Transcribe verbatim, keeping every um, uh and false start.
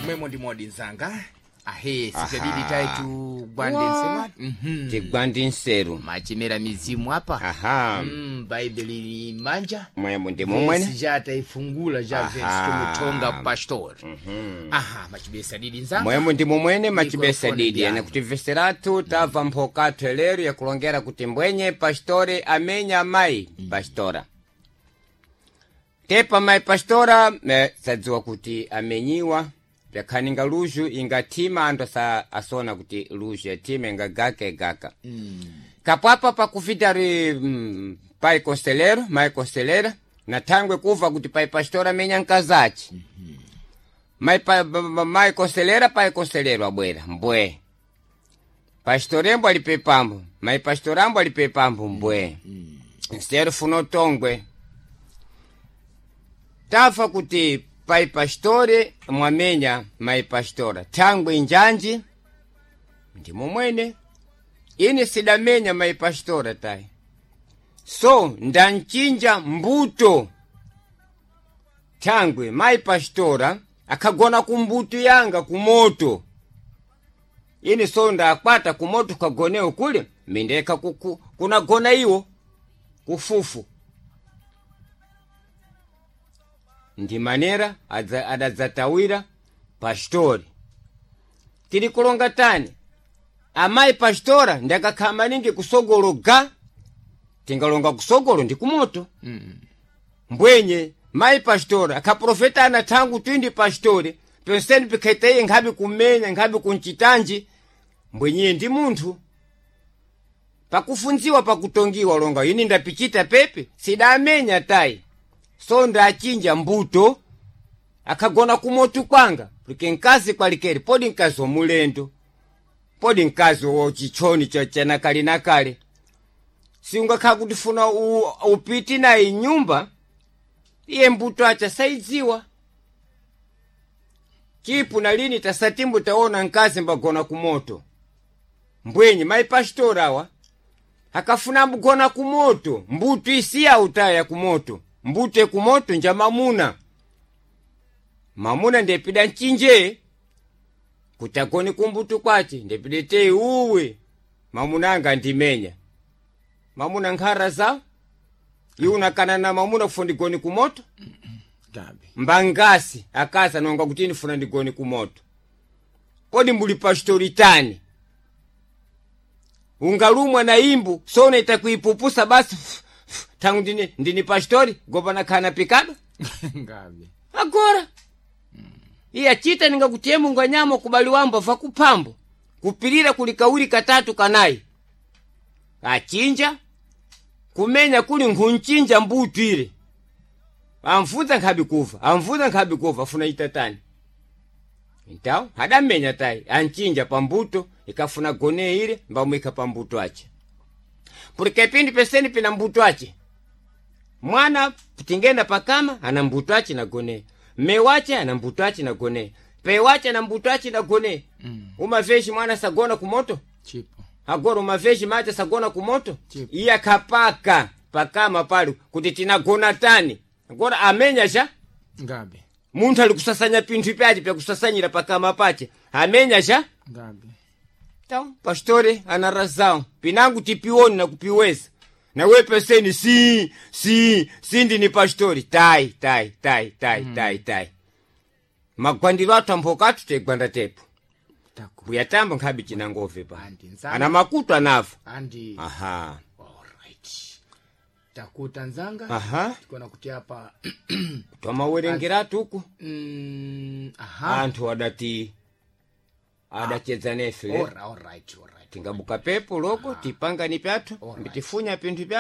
Mwemo ndi modi nzanga ahe Aha. sitadidi taitu gwande nsema Mhm. Tigwandi nseru. Machimera mizimu apa. Aha. Mm, bhaibheli ni manja. Mwemo ndi momwene. Vesi jataifungula ja Aha. vesi tumutonga pastor. Aha, machibesa didi nzanga. Mwemo ndi momwene machibesa Mikrofoni didi byanu. ene kuti veseratu tamva mphokatho lero yakulongera kuti mbwenye pastore amenya mayi pastora tepa mayi pastora eh, sadziwa kuti amenyiwa pyakhaninga luzhu ingathima anthu asa, asona kuti luzhu yathima ingagaka igaka mm. Kapwapa pakufitari mm, pai conselheiro mai conselheira na thangwe kuva kuti pai pastora amenya mkazachi mai, pa, ba- ba- mai conselheira pai conselheiro abwera mbwe pastorembo alipe pambo mai pastorambo alipe pambo mbwe nseru funo tongwe tafa kuti pai pastore mwamenya mai pastora thangwe njanji ndi momwene ine sidamenya mai pastora tayi so ndanchinja mbuto thangwe mai pastora akhagona kumbuto yanga kumoto ine so ndakwata kumoto kagonewo kule mindeka kuku, kunagona iwo kufufu ndi manera adza- adadzatawira pastori tili kulonga tani amayi pastora ndakakhala maningi kusogolo ga tingalonga kusogolo ndi kumoto mm. Mbwenye mayi pastora akhaprofetana thangu twindi pastori penseni pikhaita iye nkhabe kumenya nkhabe kunchitanji mbwenyiye ndi munthu pakufunziwa pakutongiwa longa ini ndapichita pepe sidamenya tayi so ndachinja mbuto akhagona kumoto kwanga porque nkazi kwalikeri podi nkazi womulendo podi nkazi wochichoni chanakale nakale siungakhala kuti funa u- upiti naye nyumba iye mbuto acha saidziwa chipu na lini tasatimbu taona nkazi mbagona kumoto mbwenye mai pastora awa akafuna mbugona kumoto mbuto isiya utaya kumoto mbuto ekumoto nja mamuna mamuna ndepida nchinje kuti agone kumbuto kwace ndepida tei uwe mamuna anga ndimenya mamuna nkhara zawo iwe unakana na mamuna kufuna ndigone kumoto Gabi. mbangasi akazi anonga kuti ndifuna ndigone kumoto kodi mbuli pastori tani ungalumwa na imbu sona itakuipupusa basi f- f- tangu ndini, ndini pastori gopana khana pikado Ngabi. agora iye achita ningakutiye mungu anyama kubali wambo va kuphambo kupirira kuli kawiri katatu kanayi achinja kumenya kuli nkhunchinja mbutu ile amvunza nkhabi kuva amvunza nkhabi kuva afuna itatani então hadamenya tayi anchinja pambuto ikafuna gone ile mbamwika pambuto ache porque pindi peseni pina mbuto ache mwana tingenda pakama ana mbuto ache na gone mme wache ana mbuto ache na gone pe wache ana mbuto ache na gone mm. Umaveshi mwana sagona kumoto Chipo. agora umaveshi mache sagona kumoto Chipo. iye akhapaka pakama pali kuti tinagona tani agora amenya sha Ngabi. munthu ali kusasanya pinthu pyace pyakusasanyira pakama pace amenya sha Ngabi. Então, pastore ana razão. Pinangu tipioni na kupiweza. Na we peseni si si si ndini pastori. Tai tai tai tai mm. tai tai. Magwandiro athu amphokathu tegwanda tepo. Taku. Kuyatamba nkhabi chinangove pa. Andi nzanga. Ana makutu anafa. Andi. Aha. Alright. Takuta nzanga. Aha. Tikona kuti apa Twamawerengeratu uku. mm, aha. Anthu adati adachedza nefe. Alright, alright, alright. Tingabuka pepo loko tipangani pyathu Alright. mbitifunya pinthu pyathu.